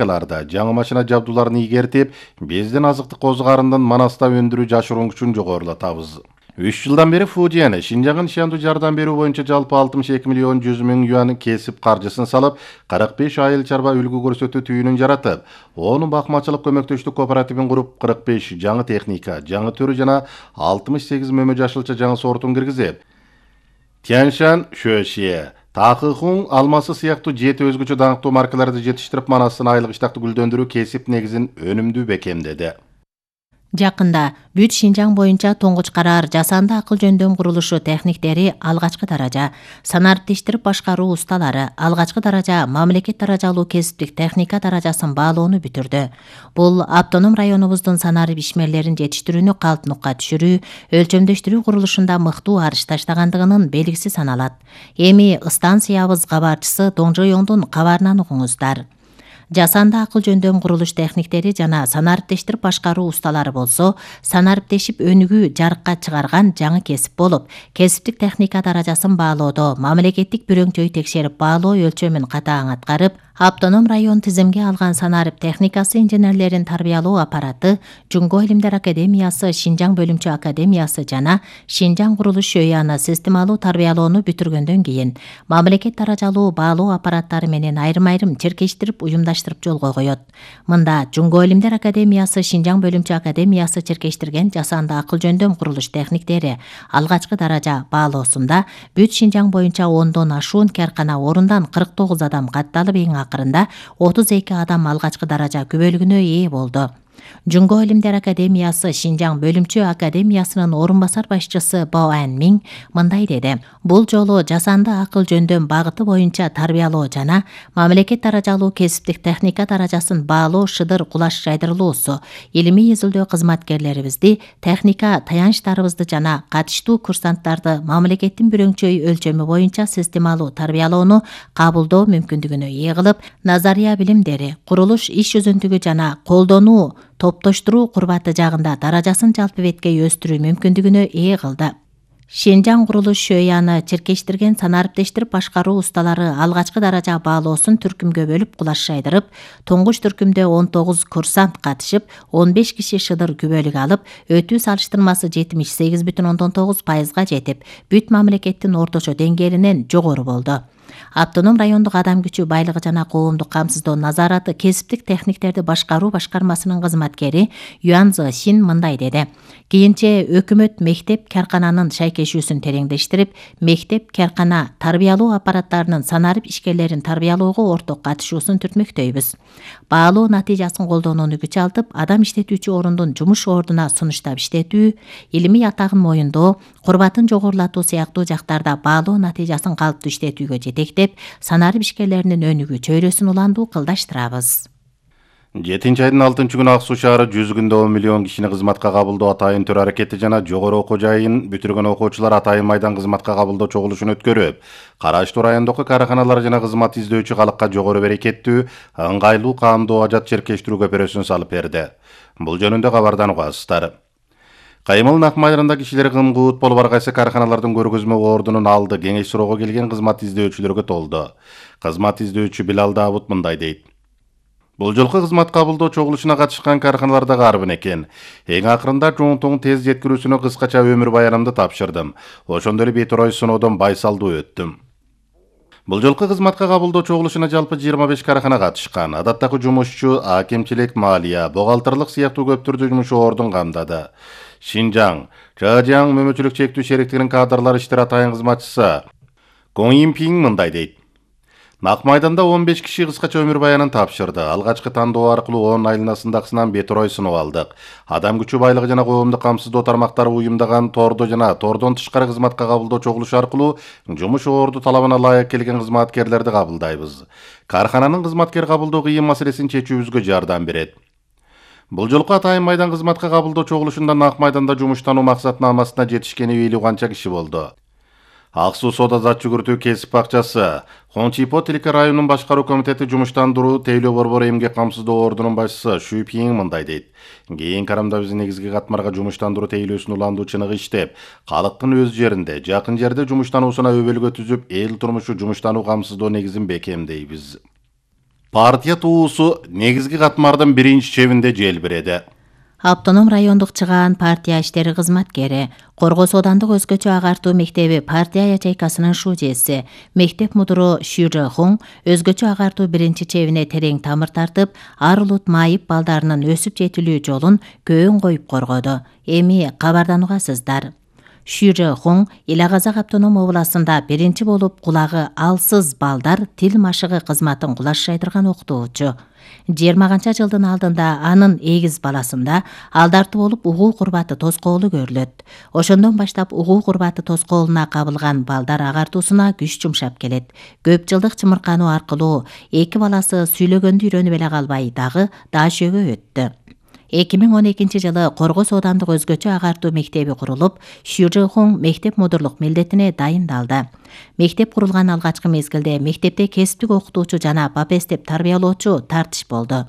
жаңы машина жабдууларын ийгертип, биздин азыктык козгарынын Манаста өндүрүү жашыруун күчүн жогорулатабыз. 3 жылдан бери Фудияны Шинжаңга нишандуу жардам берүү боюнча жалпы 62 миллион 100 миң юан кесип каржысын салып, 45 айыл чарба үлгү көрсөтүү түйүнүн жаратып, 10 бакмачылык көмөктөштүк кооперативин куруп, 45 жаңы техника, жаңы түрү жана 68 мөмө жашылча жаңы сортун киргизип, Тяньшан, Шуэшие, Тахыхун, алмасы сыяктуу 7 өзгөчө даңктуу маркаларды жетиштирип, Манастын айлык иштакты гүлдөндүрүү кесип негизин өнүмдүү бекемдеди. Жакында бүт Шинжаң боюнча тоңгуч караар жасанды акыл жөндөм курулушу техниктери алгачкы даража, санариптештирип башкаруу усталары алгачкы даража, мамлекет даражалуу кесиптик техника даражасын баалоону бүтүрдү. Бул автоном районубуздун санарип ишмерлерин жетиштирүүнү калпнукка түшүрүү, өлчөмдөштүрүү курулушунда мыктуу арыш таштагандыгынын белгиси саналат. Эми станциябыз кабарчысы Доңжоёңдун кабарынан угуңуздар. Жасанды акыл жөндөм курулуш техниктери жана санариптештирип башкаруу усталары болсо, санариптешип өнүгүү жарыкка чыгарган жаңы кесип болуп, кесиптик техника даражасын баалоодо мамлекеттик бирөңчөй текшерип баалоо өлчөмүн катаң аткарып, автоном район тизимге алган санарип техникасы инженерлерин тарбиялоо аппараты, Жуңго илимдер академиясы, Шинжаң бөлүмчө академиясы жана Шинжаң курулуш ШӨЯны системалуу тарбиялоону бүтүргөндөн кийин, мамлекет даражалуу баалоо аппараттары менен айрым-айрым черкештирип уюмдаштырып жолго коет. Мында Жуңго илимдер академиясы, Шинжаң бөлүмчө академиясы черкештирген жасанды акыл жөндөм курулуш техниктери алгачкы даража баалоосунда бүт Шинжаң боюнча 10дон ашуун каркана орундан 49 адам катталып, эң акырында 32 адам алгачкы даража күбөлүгүнө ээ болду. Жуңго илимдер академиясы Шинжаң бөлүмчө академиясынын орун басар башчысы Бао Анмиң мындай деди: бул жолу жасанды акыл жөндөм багыты боюнча тарбиялоо жана мамлекет даражалуу кесиптик техника даражасын баалоо шыдыр кулаш жайдырылуусу илимий изилдөө кызматкерлерибизди, техника таянычтарыбызды жана катыштуу курсанттарды мамлекеттин бирөңчөй өлчөмү боюнча системалуу тарбиялоону кабылдоо мүмкүндүгүнө ээ кылып, назария билимдери, курулуш иш жүзүндүгү жана колдонуу топтоштуруу курбаты жагында даражасын жалпы беткей өстүрүү мүмкүндүгүнө ээ кылды. Шинжаң курулуш ШӨЯны черкештирген санариптештирип башкаруу усталары алгачкы даража баалоосун түркүмгө бөлүп кулаш жайдырып, туңгуч түркүмдө 19 курсант катышып, 15 киши шыдыр күбөлүк алып, өтүү салыштырмасы 78,9%га жетип, бүт мамлекеттин орточо деңгээлинен жогору болду. Автоном райондук адам күчү байлыгы жана коомдук камсыздоо назараты кесиптик техниктерди башкаруу башкармасынын кызматкери Юан Зысин мындай деди: кийинче өкмөт мектеп каркананын шайкешүүсүн тереңдештирип, мектеп каркана тарбиялоо аппараттарынын санарип ишкерлерин тарбиялоого орток катышуусун түртмөктөйбүз. Баалоо натыйжасын колдонууну күч алтып, адам иштетүүчү орундун жумуш ордуна сунуштап иштетүү, илимий атагын моюндоо, курбатын жогорулатуу сыяктуу жактарда баалоо натыйжасын калыптуу иштетүүгө жетектеп, санарип ишкерлеринин өнүгүү чөйрөсүн уландуу кылдаштырабыз. 7-айдын 6-күнү Ак Суу шаары 100 күндө 10 миллион кишини кызматка кабылдоо атайын төр аракети жана жогору окуу жайын бүтүргөн окуучулар атайын майдан кызматка кабылдоо чогулушун өткөрүп, караштуу райондогу каарканалар жана кызмат издөөчү калыкка жогору берекеттүү, ыңгайлуу каамдуу ажат черкештирүү көпүрөсүн салып берди. Бул жөнүндө кабардан угасыздар. Каймыл Ак майдарында кишилер кымгуут болуп, ар кайсы каарканалардын көргөзмө ордунун алды кеңеш суроого келген кызмат издөөчүлөргө толду. Кызмат издөөчү Билал Даабут мындай дейт: бул жолку кызмат кабылдоо чогулушуна катышкан каарканалар да карбын экен. Эң акырында чоңтуң тез жеткирүүсүнө кыскача өмүр баянымды тапшырдым. Ошондо эле бет орой сыноодон байсалдуу өттүм. Бул жолку кызматка кабылдоо чогулушуна жалпы 25 кааркана катышкан. Адаттагы жумушчу, акимчилик, малия, бухгалтердик сыяктуу көп түрдүү жумуш ордун камдады. Шинжаң, Чажаң мөмөчүлүк чектүү шериктигинин кадрлар иштер атайын кызматчысы Коң Импиң мындай дейт: Ак майданда 15 киши кыскача өмүр баянын тапшырды. Алгачкы тандоо аркылуу 10 айланасындагысынан бет орой сыноо алдык. Адам күчү байлыгы жана коомдук камсыздоо тармактары уюмдаган тордо жана тордон тышкары кызматка кабылдоо чогулушу аркылуу жумуш орду талабына ылайык келген кызматкерлерди кабылдайбыз. Кааркананын кызматкер кабылдоо кыйын маселесин чечүүбүзгө жардам берет. Бул жолку атайын майдан кызматка кабылдоо чогулушунда Ак майданда жумуштануу максатына амасына жетишкени белгилүү канча киши болду. Ак Суу соода зат жүгүртүү кесип бакчасы, Хончипо тилке районунун башкаруу комитети жумуштандыруу тейлөө борбору эмгек камсыздоо ордунун башчысы Шу Пиң мындай дейт: кийин карамда биз негизги катмарга жумуштандыруу тейлөөсүн уландуу чыныгы иштеп, калктын өз жеринде, жакын жерде жумуштануусуна өбөлгө түзүп, эл турмушу жумуштануу камсыздоо негизин бекемдейбиз. Партия туусу негизги катмардын биринчи чебинде желбиреди. Автоном райондук чыгаан партия иштери кызматкери, Коргоо Соодандык өзгөчө агартуу мектеби партия ячейкасынын шужеси, мектеп мудуру Шү Жохун өзгөчө агартуу биринчи чебине терең тамыр тартып, ар улут майып балдарынын өсүп жетилүү жолун көөн коюп коргоду. Эми кабарданугасыздар. Шү Жохун Ил Казак автоном областында биринчи болуп кулагы алсыз балдар тил машыгы кызматын кулашайдырган окутуучу. 20 жылдын алдында анын эгиз баласында алдартуу болуп угуу курбаты тоскоолу көрүлөт. Ошондон баштап угуу курбаты тоскоолуна кабылган балдар агартуусуна күч жумшап келет. Көп жылдык чымыркануу аркылуу эки баласы сүйлөгөндү үйрөнүп эле калбай дагы даашөөгө өттү. 2012 жылы Коргоо Соодандык өзгөчө агартуу мектеби курулуп, Шү Жохун мектеп мудурлук милдетине дайындалды. Мектеп курулган алгачкы мезгилде мектепте кесиптик окутуучу жана бапестеп тарбиялоочу тартыш болду.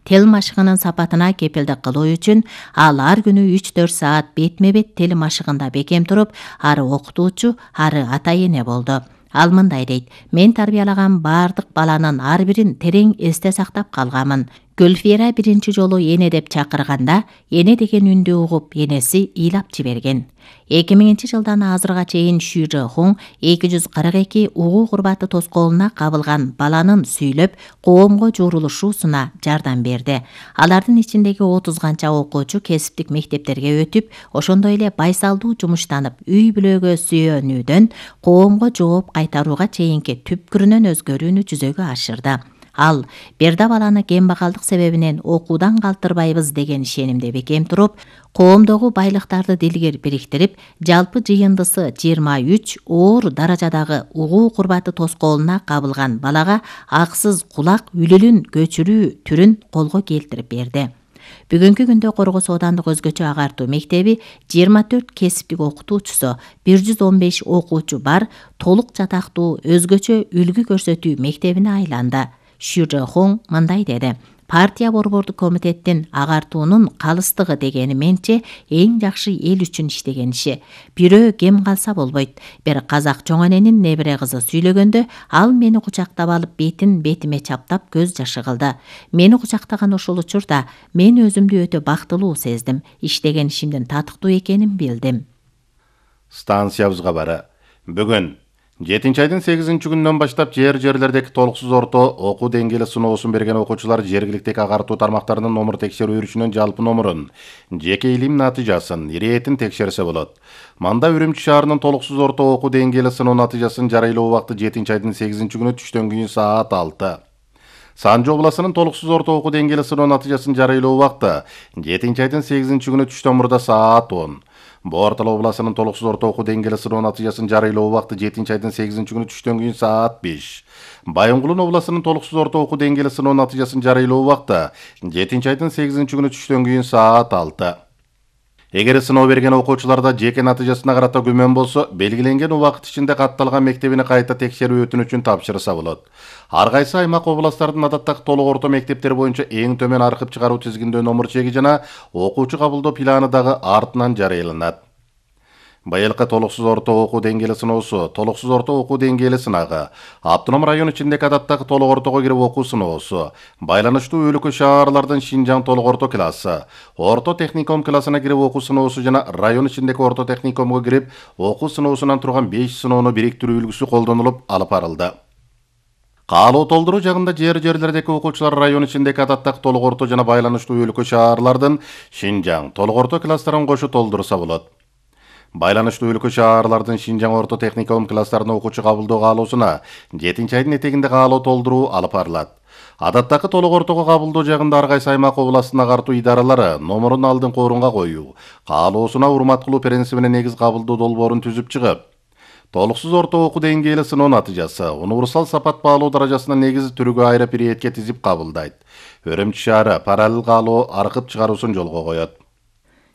Тил машыгынын сапатына кепилдик кылуу үчүн ал ар күнү 3-4 саат бетме-бет тил машыгында бекем туруп, ары окутуучу, ары ата-эне болду. Ал мындай дейт: "Мен тарбиялаган баардык баланын ар бирин терең эсте сактап калганмын. Гүлфира биринчи жолу эне деп чакырганда, эне деген үндү угуп, энеси ыйлап жиберген." 2000 жылдан азырга чейин Шү Жохун 242 угуу курбаты тоскоолуна кабылган баланын сүйлөп, коомго жуурулушуусуна жардам берди. Алардын ичиндеги 30 канча окуучу кесиптик мектептерге өтүп, ошондой эле байсалдуу жумуштанып, үй бүлөгө сүйөнүүдөн коомго жооп кайтарууга чейинки түпкүрүнөн өзгөрүүнү жүзөгө ашырды. Ал бир да баланы кембагалдык себебинен окуудан калтырбайбыз деген ишенимде бекем туруп, коомдогу байлыктарды дилгер бириктирип, жалпы жыйындысы 23 оор даражадагы угуу курбаты тоскоолуна кабылган балага аксыз кулак үлүлүн көчүрүү түрүн колго келтирип берди. Бүгүнкү күндө Коргоо Соодандык өзгөчө агартуу мектеби 24 кесиптик окутуучусу, 115 окуучу бар толук жатактуу өзгөчө үлгү көрсөтүү мектебине айланды. Шү Жохун мындай деди: "Партия борбордук комитеттин агартуунун калыстыгы дегени менче эң жакшы эл үчүн иштеген иши. Бирөө кем калса болбойт. Бир казак чоң эненин небере кызы сүйлөгөндө, ал мени кучактап алып бетин бетиме чаптап көз жашы кылды. Мени кучактаган ошол учурда мен өзүмдү өтө бактылуу сездим. Иштеген ишимдин татыктуу экенин билдим." Станциябызга бары. Бүгүн 7 айдын 8 күнүнөн баштап жерлердеги толуксуз орто окуу деңгээли сыноосун берген окуучулар жергиликтеги агартуу тармактарынын номер текшерүү үрүшүнүн жалпы номерун, жеке илим натыйжасын, иретин текшерсе болот. Манда Үрүмчү шаарынын толуксуз орто окуу деңгээли сыноо натыйжасын жарыйлоо убакты 7 айдын 8 күнү түштөн кийин саат 6. Санжы областынын толуксуз орто окуу деңгээли сыноо натыйжасын жарыйлоо убакты 7 айдын 8 күнү түштөн мурда саат 10. Бортал областынын толуксуз орто окуу деңгээли сыноо натыйжасын жарыйлоо убакты 7 айдын 8 күнү түштөн кийин саат 5. Байынгулун областынын толуксуз орто окуу деңгээли сыноо натыйжасын жарыйлоо убакты 7 айдын 8 күнү түштөн кийин саат 6. Эгер сыноо берген окуучуларда жеке натыйжасына карата күмөн болсо, белгиленген убакыт ичинде катталган мектебине кайта текшерүү өтүнүчүн тапшырса болот. Ар кайсы аймак областтардын адаттагы толук орто мектептери боюнча эң төмөн аркып чыгаруу тизгиндөө номер чеги жана окуучу кабылдоо планы дагы артынан жарыяланат. Байылкы толуксуз орто окуу деңгээли сыноосу, толуксуз орто окуу деңгээли сынагы, автоном район ичиндеги адаттагы толук ортого кирип окуу сыноосу, байланыштуу өлкө шаарлардын Шинжаң толук орто классы, орто техникум классына кирип окуу сыноосу жана район ичиндеги орто техникумга кирип окуу сыноосунан турган 5 сыноону бириктирүү үлгүсү колдонулуп алып барылды. Каалоо толтуруу жагында жерлердеги окуучулар район ичиндеги адаттагы толук орто жана байланыштуу өлкө шаарлардын Шинжаң толук орто класстарын кошо толтурса болот. Байланыштуу өлкө шаарлардын Шинжаң орто техникум класстарына окуучу кабылдоо каалоосуна 7 айдын этегинде каалоо толтуруу алып барылат. Адаттагы толук ортого кабылдоо жагында ар кайсы аймак областын агартуу идаралары номерун алдыңкы орунга коюу, каалоосуна урмат кылуу принцибине негиз кабылдоо долбоорун түзүп чыгып, толуксуз орто окуу деңгээли сыноо натыйжасы универсал сапат баалоо даражасына негизи түрүгө айырып иретке тизип кабылдайт. Үрүмчү шаары параллел каалоо аркып чыгаруусун жолго коет.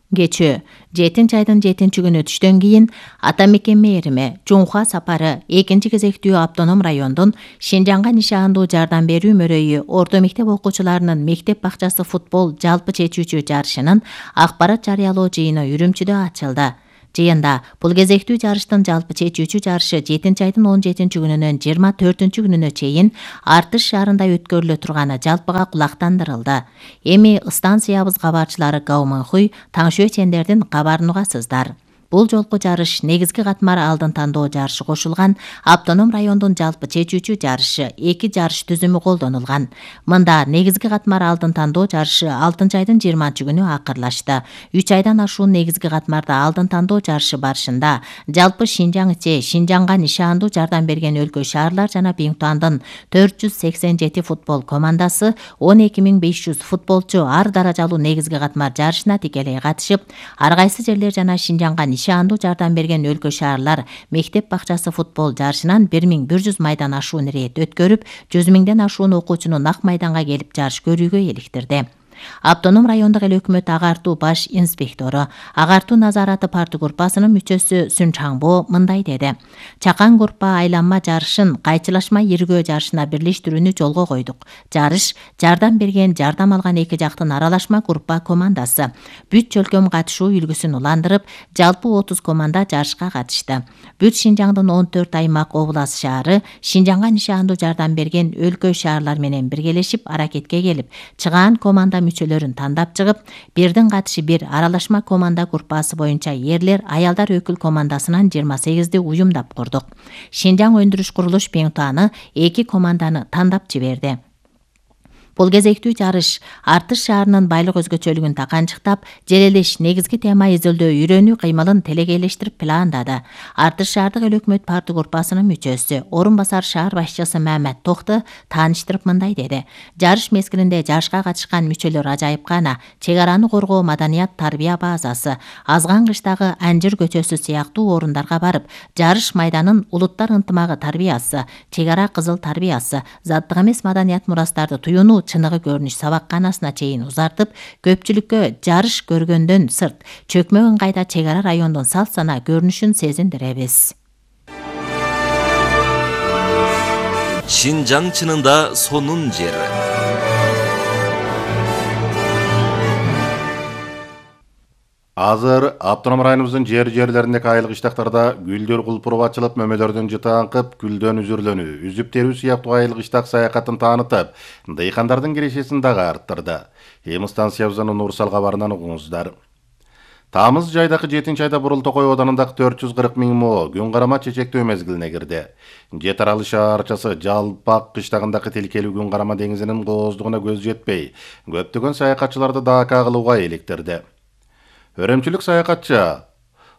Кечүү 7 айдын 7 күнү түштөн кийин ата мекен мээрими Жумха сапары 2 кезектүү автоном райондун Шинжаңга нишандуу жардам берүү мөрөйү орто мектеп окуучуларынын мектеп бакчасы футбол жалпы чечүүчү жарышынын акпарат жарыялоо жыйыны Үрүмчүдө ачылды. Жыйында бул кезектүү жарыштын жалпы чечүүчү жарышы 7 айдын 17-күнүнөн 24-күнүнө чейин Артыш шаарында өткөрүлө турганы жалпыга кулактандырылды. Эми станциябыз кабарчылары Гауманхуй, Таңшө чендердин кабарын угасыздар. Бул жолку жарыш негизги катмар алдын тандоо жарышы кошулган автоном райондун жалпы чечүүчү жарышы 2 жарыш түзүмү колдонулган. Мында негизги катмар алдын тандоо жарышы 6-айдын 20-күнү акырлашты. 3 айдан ашуун негизги катмарда алдын тандоо жарышы барышында жалпы Шинжаң ичи Шинжаңга нишандуу жардам берген өлкө шаарлар жана Биңтуандын 487 футбол командасы 12500 футболчу ар даражалуу негизги катмар жарышына тикелей катышып, ар кайсы жерлер жана Шинжаңга нишандуу жардам берген өлкө шаарлар мектеп бакчасы футбол жарышынан 1100 майдан ашуун ирет өткөрүп, 100 миңден ашуун окуучуну нак майданга келип жарыш көрүүгө иликтирди. Автоном райондук эл өкмөт агартуу баш инспектору, агартуу назараты парты группасынын мүчөсү Сүн Чаңбо мындай деди. Чакан группа айланма жарышын кайчылашма иргөө жарышына бирлештирүүнү жолго койдук. Жарыш жардам берген, жардам алган эки жактын аралашма группа командасы. Бүт чөлкөм катышуу үлгүсүн уландырып, жалпы 30 команда жарышка катышты. Бүт Шинжаңдын 14 аймак облас шаары Шинжаңга нишандуу жардам берген өлкө шаарлар менен биргелешип аракетке келип, чыгаан команда мүчөлөрүн тандап чыгып, бирдин катышы бир аралашма команда группасы боюнча эрлер, аялдар өкүл командасынан 28 уюмдап курдук. Шинжаң өндүрүш курулуш Биңтуаны 2 команданы тандап жиберди. Бул кезектүү жарыш Артыш шаарынын байлык өзгөчөлүгүн таканчыктап, желелеш негизги тема изилдөө үйрөнүү кыймылын телекейлештирип пландады. Артыш шаардык эл өкмөт парты группасынын мүчөсү, орун басар шаар башчысы Мамат Токты тааныштырып мындай деди. Жарыш мезгилинде жарышка катышкан мүчөлөр ажайып гана чек араны коргоо маданият тарбия базасы, Азган кыштагы Анжыр көчөсү сыяктуу орундарга барып, жарыш майданын улуттар ынтымагы тарбиясы, чек ара кызыл тарбиясы, заттык эмес маданият мурастарды туюунуу чыныгы көрүнүш сабакканасына чейин узартып, көпчүлүккө жарыш көргөндөн сырт, чөкмө ыңгайда чек ара райондун салт сана көрүнүшүн сезиндиребиз. Шинжаң чынында сонун жер. Азыр автоном районубуздун жерлеринде айылык иштактарда гүлдөр кулпуруп ачылып, мөмөлөрдөн жытаңкып, гүлдөн үзүрлөнүү, үзүп терүү сыяктуу айылык иштак саякатын таанытып, дыйкандардын кирешесин дагы арттырды. Эми станциябыздын Нурсал кабарынан угуңуздар. Тамыз жайдагы 7-айда Бурул Токой оданындагы 440 миң мо күн карама чечектөө мезгилине кирди. Жет аралы шаарчасы Жалпак кыштагындагы тилкелүү күн карама деңизинин кооздугуна көз жетпей, көптөгөн саякатчыларды дака кылууга иликтирди. Өрөмчүлүк саякатчы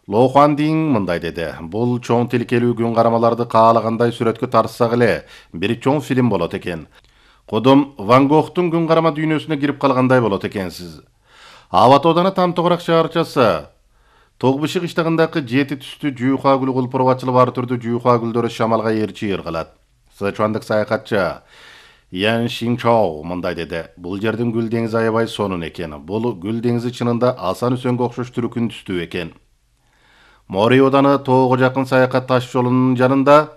Лохан Дин мындай деди. Бул чоң тилкелүү күн карамаларды каалагандай сүрөткө тартсак эле, бир чоң фильм болот экен. Кодум Ван Гогтун күн карама дүйнөсүнө кирип калгандай болот экенсиз. Абат оданы Там Тогурак шаарчасы Тогбышык иштагындагы 7 түстүү жүйха гүл кулпуруп ачылып, ар түрдүү жүйха гүлдөрү шамалга ээрчи ыргылат. Сычуандык саякатчы Ян Шинчоу мындай деди. Бул жердин гүл деңизи аябай сонун экен. Бул гүл деңизи чынында асан үсөнгө окшош түркүн түстүү экен. Мори оданы тоого жакын саякат таш жолунун жанында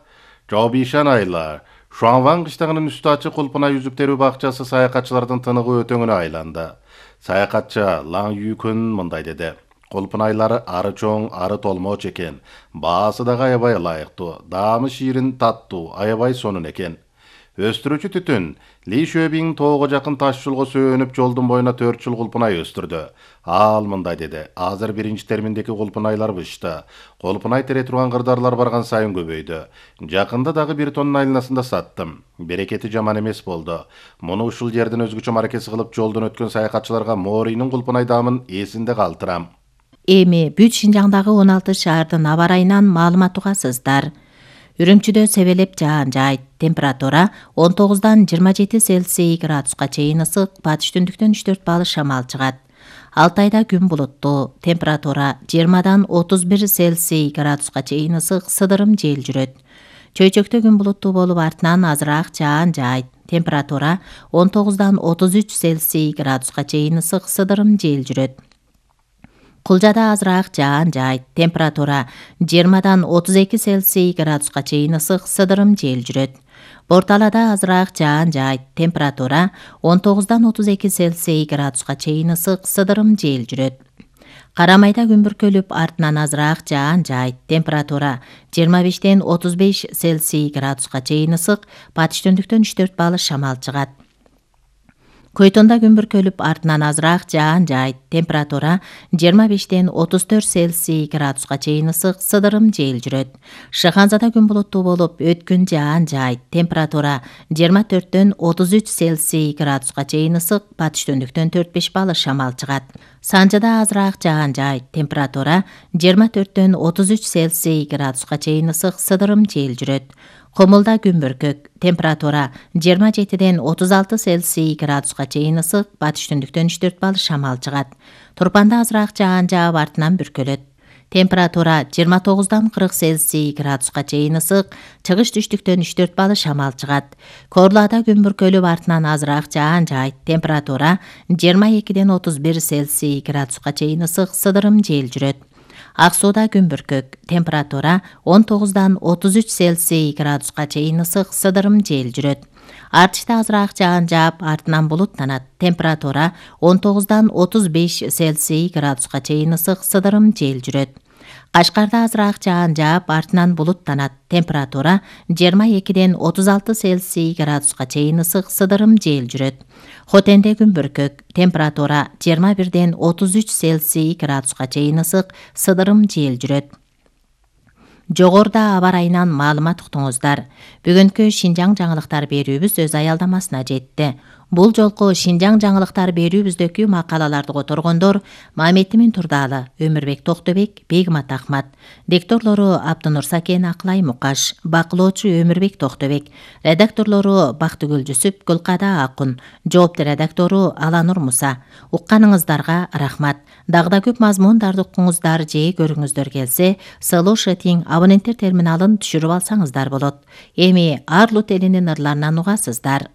Жобишан айла Шуанван кыштагынын үстү ачык кулпуна жүзүп терүү бакчасы саякатчылардын тыныгы өтөңүнө айланды. Саякатчы Лаң Юкүн мындай деди. Кулпунайлары ары чоң, ары толмоч экен. Баасы дагы аябай ылайыктуу. Даамы ширин, таттуу, аябай сонун экен. Өстүрүүчү түтүн Ли Шөбиң тоого жакын таш жолго сөөнүп, жолдун боюна 4 жыл кулпунай өстүрдү. Ал мындай деди. Азыр биринчи терминдеки кулпунайлар бышты. Кулпунай тере турган кырдарлар барган сайын көбөйдү. Жакында дагы 1 тонна айланасында саттым. Берекети жаман эмес болду. Муну ушул жерден өзгөчө маракеси кылып жолдон өткөн саякатчыларга Моринин кулпунай даамын эсинде калтырам. Эми бүт Шинжаңдагы 16 шаардын аба ырайынан маалымат угасыздар. Үрүмчүдө себелеп жаан жайт. Температура 19-дан 27 Цельсий градуска чейин ысык, батыш түндүктөн 3-4 балл шамал чыгат. Алтайда күн булуттуу. Температура 20-дан 31 Цельсий градуска чейин ысык, сыдырым жел жүрөт. Чөйчөктө күн булуттуу болуп, артынан азыраак жаан жайт. Температура 19-дан 33 Цельсий градуска чейин ысык, сыдырым жел жүрөт. Кулжада азыраак жаан жайт. Температура 20-дан 32 Цельсий градуска чейин ысык, сыдырым жел жүрөт. Борталада азыраак жаан жайт. Температура 19-дан 32 Цельсий градуска чейин ысык, сыдырым жел жүрөт. Кара майда күн бүркөлүп, артынан азыраак жаан жаайт. Температура 25-тен 35 Цельсий градуска чейин ысык, батыш түндүктөн 3-4 балл шамал чыгат. Көйтонда күн бүркөлүп, артынан азыраак жаан жаайт. Температура 25-тен 34 Цельсий градуска чейин ысык, сыдырым жел жүрөт. Шыханзада күн булуттуу болуп, өткүн жаан жаайт. Температура 24-тен 33 Цельсий градуска чейин ысык, батыш түндүктөн 4-5 балл шамал чыгат. Санжада азыраак жаан жаайт. Температура 24-тен 33 Цельсий градуска чейин ысык, сыдырым жел жүрөт. Комулда күн бүркөк. Температура 27-ден 36 Цельсий градуска чейин ысык, батыш түндүктөн 3-4 балл шамал чыгат. Турпанда азыраак жаан жаап, артынан бүркөлөт. Температура 29-дан 40 Цельсий градуска чейин ысык, чыгыш түштүктөн 3-4 балл шамал чыгат. Корлада күн бүркөлүп, артынан азыраак жаан жаайт. Температура 22-ден 31 Цельсий градуска чейин ысык, сыдырым жел жүрөт. Ак сууда күн бүркөк. Температура 19-дан 33 Цельсий градуска чейин ысык, сыдырым жел жүрөт. Артышта азыраак жаан жаап, артынан булуттанат. Температура 19-дан 35 Цельсий градуска чейин ысык, сыдырым жел жүрөт. Кашкарда азыраак жаан жаап, артынан булуттанат. Температура 22-ден 36 Цельсий градуска чейин ысык, сыдырым жел жүрөт. Хотенде күн бүркөк. Температура 21-ден 33 Цельсий градуска чейин ысык, сыдырым жел жүрөт. Жогоруда аба ырайынан маалымат уктуңуздар. Бүгүнкү Шинжаң жаңылыктар берүүбүз өз аялдамасына жетти. Бул жолку Шинжаң жаңылыктар берүүбүздөгү макалаларды которгондор Маметимин Турдаалы, Өмүрбек Токтобек, Бегмат Ахмат. Дикторлору Абдынур Сакен, Аклай Мукаш. Бакылоочу Өмүрбек Токтобек. Редакторлору Бактыгүл Жүсүп, Гүлкада Акун. Жоопту редактору Аланур Муса. Укканыңыздарга рахмат. Дагы да көп мазмундарды укуңуздар же көрүңүздөр келсе, Слушатиң абоненттер терминалын түшүрүп алсаңыздар болот. Эми Арлут элинин ырларынан угасыздар.